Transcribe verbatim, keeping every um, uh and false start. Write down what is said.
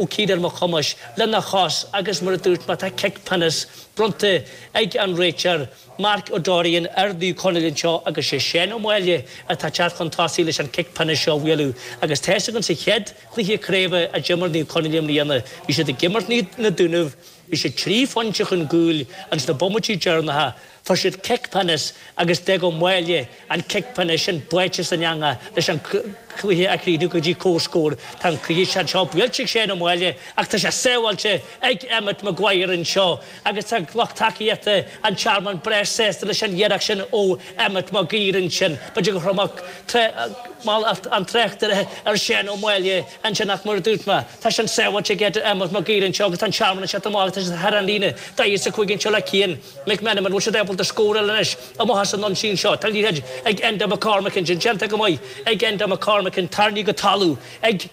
Ó Ciarán Mac Thomáis lena chos agus mar a dúirt mé tá cic pionóis bronnta ag an réiteoir Mark O'Dorian ar Naomh Conaill anseo agus sé Seán Ó Máille atá ag teacht chun tosaigh leis an cic pionóis seo a bhualadh agus tá a fhios againn sa chéad chluiche craoibhe a d'imir Naomh Conaill i mbliana bhí siad ag imirt na Dúnaibh bhí siad trí phointe chun cúil ins na bomaití deireanacha fuair siad cic pionóis agus d'fhág Ó Máille an cic pionóis sin báite san eangach leis an cluiche a chríochnú go dtí comhscór. Tá an cluiche seo anseo buailte ag Seán Ó Máille ach tá sé sábháilte ag Emmet Maguire anseo agus tá lucht tacaíochta an Tearmann breá sásta leis an iarracht sin ó Emmet Maguire ansin. B'fhéidir gur chuir an tráchtaire ar Seán Ó Máille ansin ach mar a dúirt mé, tá sin sábháilte ag Emmet Maguire anseo agus tá an Tearmann anseo amach tá thar an líne daichead is a cúig anseo le Cian McMenamin bhfuil siad ábalta scóráil anois amach as an ionsaí seo. Tá liathróid ag Enda McCormack ansin déanta go maith ag Enda McCormack tarraingthe go talamh ag